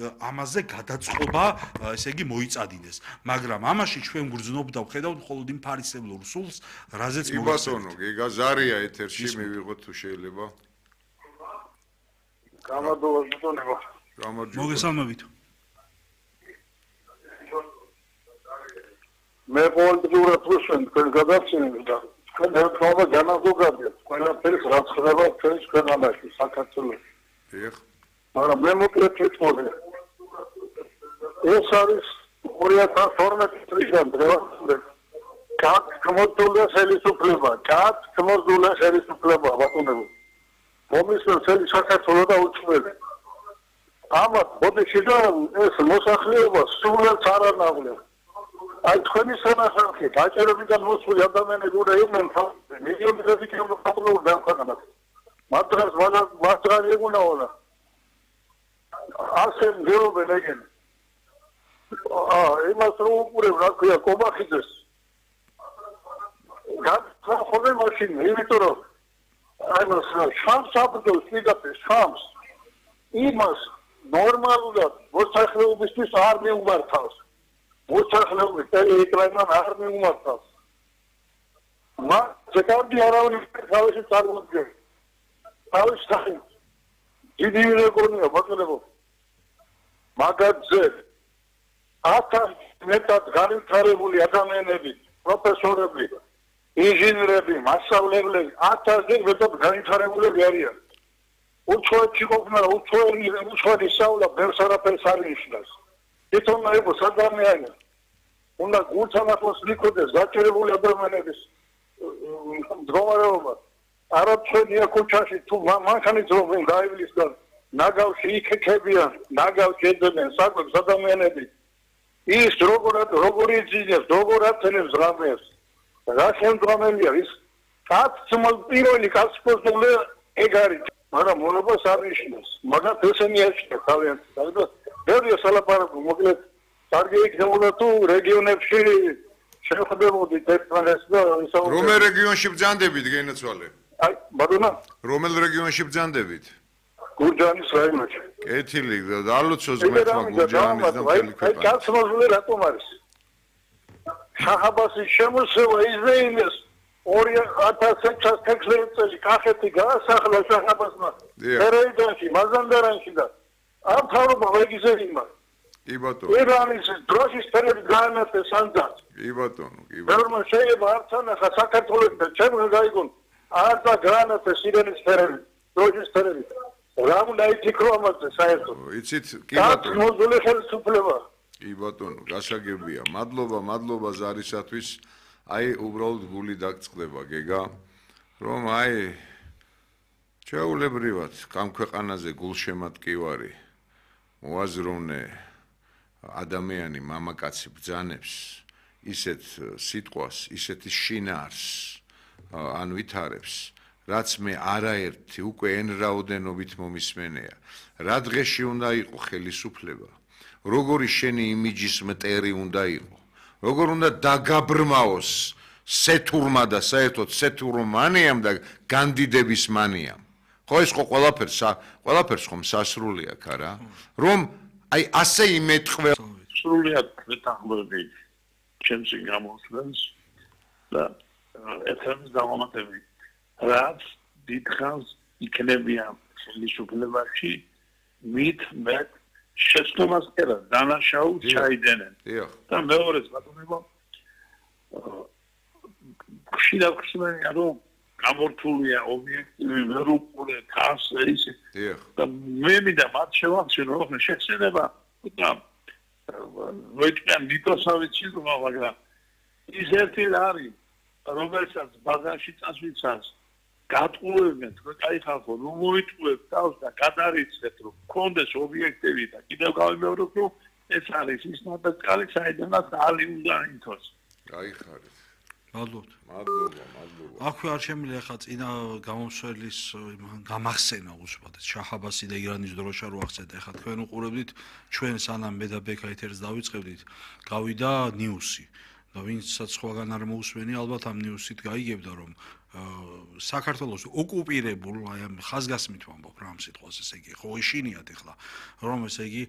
ამაზე გადაწყობა, ესე იგი მოიწადინეს. მაგრამ ამაში ჩვენ გრძნობ და ვხედავთ მხოლოდ იმ ფარისევლურ სულს, რაზეც მოგესალმებით. გიგა ზარია ეთერში მივიღოთ თუ შეიძლება. გამარჯობა ბატონო. მოგესალმებით. მე პოლიტიკურად ვუსვენ თქვენ გადაცემებს და თქვენ ერთმანეთს განაზოგადეთ ყველაფერს რაც ხდება ჩვენს ქვეყანაში საქართველოს. დიახ. მაგრამ მე მოკლედ ვიტყოდი. ეს არის 2012 წლიდან დღევანდელ კაცმოძულე ხელისუფლება, კაცმოძულე ხელისუფლება ბატონო. მომისმენს საქართველოს და უცხოელი. ამათ ბოდიში და ეს მოსახლეობა სულაც არ ანავლებს. აი თქვენი სანახავი დაჭერებიდან მოსული ადამიანები უნდა იყვნენ მილიონები კილომეტრები დაახლოებით. მაგრამ მაგრამ ეგუნაოლა. ასე მგეობენ ეგენ. იმას რომ უყურებ რა ქვია კომახიძეს. გახსოვე მაშინ იმიტომ რომ აი მას შანს აბდოს მიდაფე შანს იმას ნორმალურად მოსახლეობისთვის არ მიუმართავს. მოსახლეობის ტელეეკრანთან არ მიუმართავს. მაგრამ ზეკავდი არავინ თავისი წარმოადგენს. თავის სახით. დიდი რეგიონია ბატონო. მაგაძე 1000 მეტად განვითარებული ადამიანები, პროფესორები, ინჟინერები, მასწავლებლები 1000-ზე მეტად განვითარებულები არიან. უცხოეთში ყოფნა, უცხოელი სწავლა ბევრს არაფერს არ ნიშნავს. თვითონ აიყო ადამიანი. უნდა გულთამახოს მიქოდეს გაჭირებული ადამიანების მდგომარეობა. არა ჩვენია ქუჩაში თუ მანქანით რომ გაივლის და ნაგავში იქექებიან, ნაგავში ეძებენ საკვებს ადამიანები. ის როგორი ძინებს, როგორ აცენებს რამეს. რა შემდგომელია ის? პირველი კაცმოძულე ეგ არის. მაგრამ მონობას არ ნიშნავს. მაგრამ ესენი ეშია თავიანთი. ბევრი სალაპარაკო მოკლედ კარგი იქნებოდა თუ რეგიონებში შეხვდებოდით ერთმანეთს და ისაუბრებოდით. რომელ რეგიონში ბრძანდებით გენაცვალე? აი, ბატონო. რომელ რეგიონში ბრძანდებით? გურჯაანის რაიონში. კეთილი, ალოცოს ღმერთმა გურჯაანის და მთელი ქვეყანა. აი, კაცმოძულე რატომ არის? შაჰაბასის შემოსევა იზრაელის 2616 წელი კახეთი გაასახლა შაჰაბასმა. ერეიდანში, მაზანდარანში და ამ თავრობა ვეგიზერინმა. კი ბატონო. ირანის დროშის ფერები გაანათეს სანძად. კი ბატონო, კი ბატონო. ბევრმა შეიძლება არც ანახა საქართველოს და ჩემს გაიგონ არ და გაანათეს ირანის ფერები, დროშის ფერები. რა უნდა ითქრო ამაზე საერთოდ? იცით, კი ბატონო. მოძულე ხელისუფლება. კი ბატონო, გასაგებია. მადლობა ზარისათვის. აი, უბრალოდ გული დაგწყდება, გეგა, რომ აი ჩაულებრივად ამ ქვეყანაზე გულშემატკივარი მოაზროვნე ადამიანი მამაკაცი ბრძანებს ისეთ სიტყვას, ისეთი შინაარს ან ვითარებს, რაც მე არაერთი უკვე εν რაოდენობით მომისმენია. რა დღეში უნდა იყო ხელისუფლება, როგორი შენი იმიჯის მტერი უნდა იყო, როგორ უნდა დაგაბრმაოს სეთურმა და საერთოდ სეთურმანიამ და განდიდების მანიამ. ხო ეს ხო ყველაფერს ხომ სასრული აქვს არა? რომ აი ასე იმეთყვე სრულიად მეტახმები ჩემს გამოსვლას და ეთერს დავამატები. რაც დიდხანს იქნებიან ხელისუფლებაში მით მეტ შეცდომას კერა დანაშაულს ჩაიდენენ. და მეორეს ბატონებო ხშირად ხსნიან რომ გამორთულია ობიექტივი ვერ უყურეთ ასე ისე. და მე მინდა მათ შევახსენო რომ შეცდება და მოიწვიან ნიტროსავიცი მაგრამ ის ერთი არის რომელსაც ბაზარში წასვლისას გატყუებენ თქვენ კაი ხალხო რომ მოიწვევთ თავს და გადარიცეთ რომ კონდეს ობიექტივი და კიდევ გავიმეორებ რომ ეს არის ის ნაბეჭალი საიდანაც ალი უნდა ითოს. გაიხარეთ. მადლობთ. მადლობა. აქვე არ შემიძლია ხა წინა გამომსვლის გამახსენა უბრალოდ შაჰაბასი და ირანის დროშა რო ახსენეთ. ეხლა თქვენ უყურებდით ჩვენ სანამ მე და ბექა ეთერს დავიწყებდით, გავიდა ნიუსი. და ვინცაც სხვაგან არ მოусვენი ალბათ ამ ნიუსით გაიგებდა რომ საქართველოს ოკუპირებულ აი ამ ხაზგასმით ვამბობ რა ამ სიტყვას ესე იგი ხო ეშინიათ ეხლა რომ ესე იგი